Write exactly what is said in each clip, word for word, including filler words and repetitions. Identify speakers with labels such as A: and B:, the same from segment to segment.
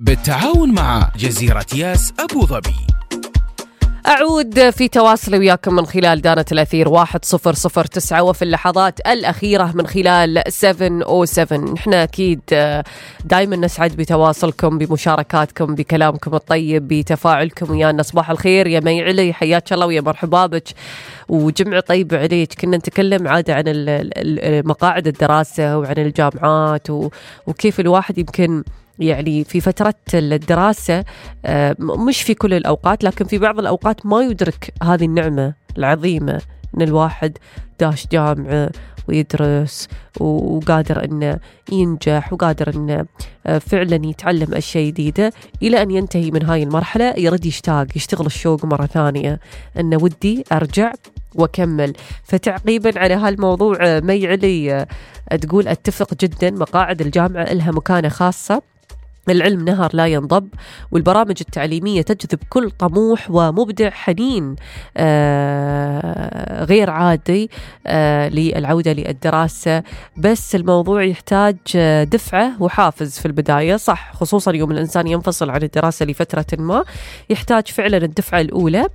A: بالتعاون مع جزيرة ياس أبو ظبي.
B: أعود في تواصل وياكم من خلال دانة الأثير واحد صفر صفر تسعة وفي اللحظات الأخيرة من خلال سبعة أو سبعة. نحن أكيد دايما نسعد بتواصلكم، بمشاركاتكم، بكلامكم الطيب، بتفاعلكم ويانا. صباح الخير يا مي علي، حياك الله ويا مرحبا بك وجمع طيب عليك. كنا نتكلم عادة عن مقاعد الدراسة وعن الجامعات وكيف الواحد يمكن يعني في فترة الدراسة مش في كل الأوقات لكن في بعض الأوقات ما يدرك هذه النعمة العظيمة إن الواحد داش جامعة ويدرس وقادر إنه ينجح وقادر إنه فعلا يتعلم أشياء جديدة إلى أن ينتهي من هاي المرحلة يرد يشتاق يشتغل الشوق مرة ثانية إنه ودي أرجع وكمل. فتعقيبا على هالموضوع مي علي تقول أتفق جدا، مقاعد الجامعة لها مكانة خاصة، العلم نهر لا ينضب، والبرامج التعليمية تجذب كل طموح ومبدع حنين آه غير عادي آه للعودة للدراسة. بس الموضوع يحتاج دفعة وحافز في البداية، صح، خصوصا يوم الإنسان ينفصل عن الدراسة لفترة ما يحتاج فعلا الدفعة الأولى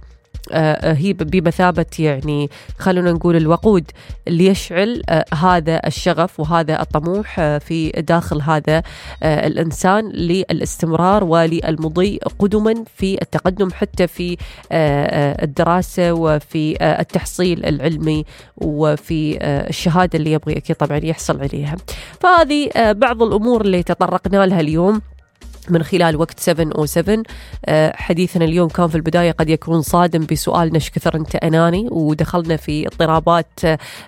B: آه هي بمثابة يعني خلونا نقول الوقود اللي يشعل آه هذا الشغف وهذا الطموح آه في داخل هذا آه الإنسان للاستمرار وللمضي قدما في التقدم حتى في آه الدراسة وفي آه التحصيل العلمي وفي آه الشهادة اللي يبغي أكيد طبعا يحصل عليها. فهذه آه بعض الأمور اللي تطرقنا لها اليوم من خلال وقت سبعة أو سبعة. حديثنا اليوم كان في البداية قد يكون صادم بسؤال نش كثر أنت أناني، ودخلنا في اضطرابات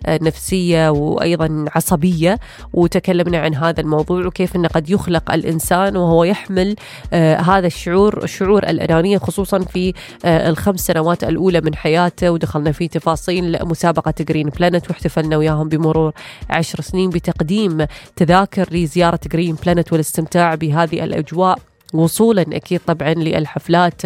B: نفسية وأيضا عصبية، وتكلمنا عن هذا الموضوع وكيف أنه قد يخلق الإنسان وهو يحمل هذا الشعور شعور الأنانية خصوصا في الخمس سنوات الأولى من حياته. ودخلنا في تفاصيل مسابقة جرين بلانت واحتفلنا وياهم بمرور عشر سنين بتقديم تذاكر لزيارة جرين بلانت والاستمتاع بهذه الأجواء وصولا أكيد طبعا للحفلات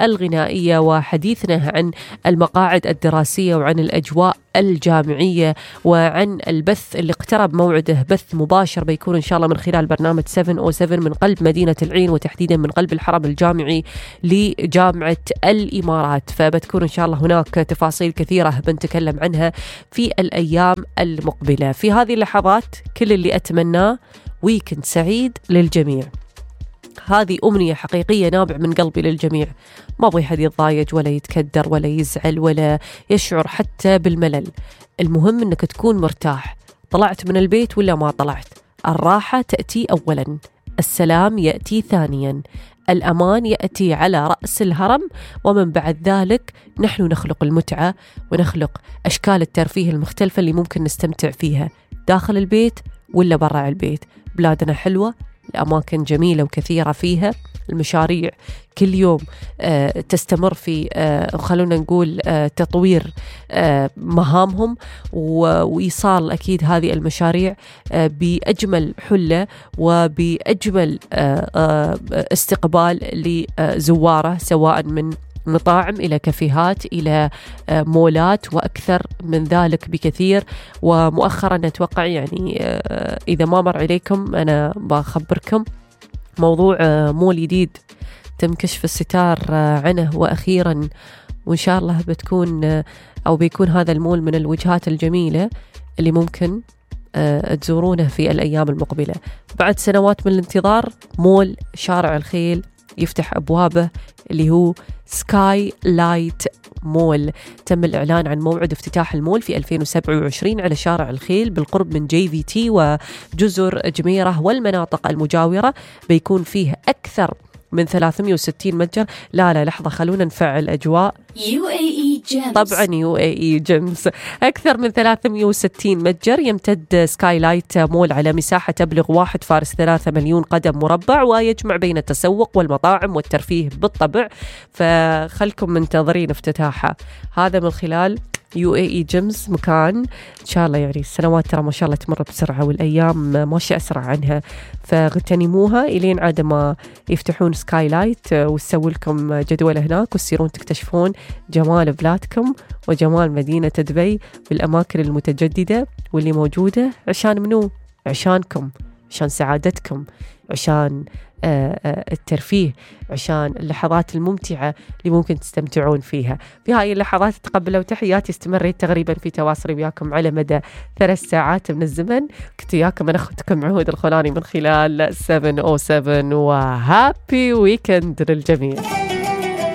B: الغنائية. وحديثنا عن المقاعد الدراسية وعن الأجواء الجامعية وعن البث اللي اقترب موعده، بث مباشر بيكون إن شاء الله من خلال برنامج سبعة أو سبعة من قلب مدينة العين وتحديدا من قلب الحرم الجامعي لجامعة الإمارات. فبتكون إن شاء الله هناك تفاصيل كثيرة بنتكلم عنها في الأيام المقبلة. في هذه اللحظات كل اللي أتمناه ويكند سعيد للجميع، هذه أمنية حقيقية نابع من قلبي للجميع. ما أبغي حد يتضايج ولا يتكدر ولا يزعل ولا يشعر حتى بالملل. المهم أنك تكون مرتاح، طلعت من البيت ولا ما طلعت. الراحة تأتي أولا، السلام يأتي ثانيا، الأمان يأتي على رأس الهرم، ومن بعد ذلك نحن نخلق المتعة ونخلق أشكال الترفيه المختلفة اللي ممكن نستمتع فيها داخل البيت ولا برا البيت. بلادنا حلوة، الأماكن جميلة وكثيرة فيها، المشاريع كل يوم آه تستمر في آه خلونا نقول آه تطوير آه مهامهم وإيصال أكيد هذه المشاريع آه بأجمل حلة وبأجمل آه آه استقبال لزواره، سواء من مطاعم إلى كافيهات إلى مولات وأكثر من ذلك بكثير. ومؤخرا أتوقع يعني إذا ما مر عليكم أنا بخبركم موضوع مول جديد تم كشف الستار عنه وأخيرا، وإن شاء الله بتكون أو بيكون هذا المول من الوجهات الجميلة اللي ممكن تزورونه في الأيام المقبلة. بعد سنوات من الانتظار مول شارع الخيل يفتح أبوابه اللي هو سكاي لايت مول. تم الإعلان عن موعد افتتاح المول في ألفين وسبعة وعشرين على شارع الخيل بالقرب من جي في تي وجزر جميرة والمناطق المجاورة. بيكون فيه أكثر من ثلاثمئة وستين متجر. لا لا لحظة خلونا نفعل أجواء
C: يو إيه إي Gems.
B: طبعا يو إيه إي Gems. أكثر من ثلاثمئة وستين متجر يمتد سكاي لايت مول على مساحة تبلغ واحد فاصلة ثلاثة مليون قدم مربع، ويجمع بين التسوق والمطاعم والترفيه بالطبع. فخلكم منتظرين افتتاحها هذا من خلال يو إيه إي Gems. مكان إن شاء الله يعني السنوات ترى ما شاء الله تمر بسرعة والأيام ماشية أسرع عنها، فاغتنموها إلين عاد ما يفتحون سكاي لايت وتسوي لكم جدول هناك وتصيرون تكتشفون جمال بلادكم وجمال مدينة دبي بالأماكن المتجددة واللي موجودة. عشان منو؟ عشانكم، عشان سعادتكم. عشان الترفيه، عشان اللحظات الممتعة اللي ممكن تستمتعون فيها. في هاي اللحظات تقبلوا تحياتي، استمريت تقريبا في تواصلي وياكم على مدى ثلاث ساعات من الزمن. كنت وياكم أنا أختكم عهود الخولاني من خلال سبعة أو سبعة، وهابي ويكند للجميع.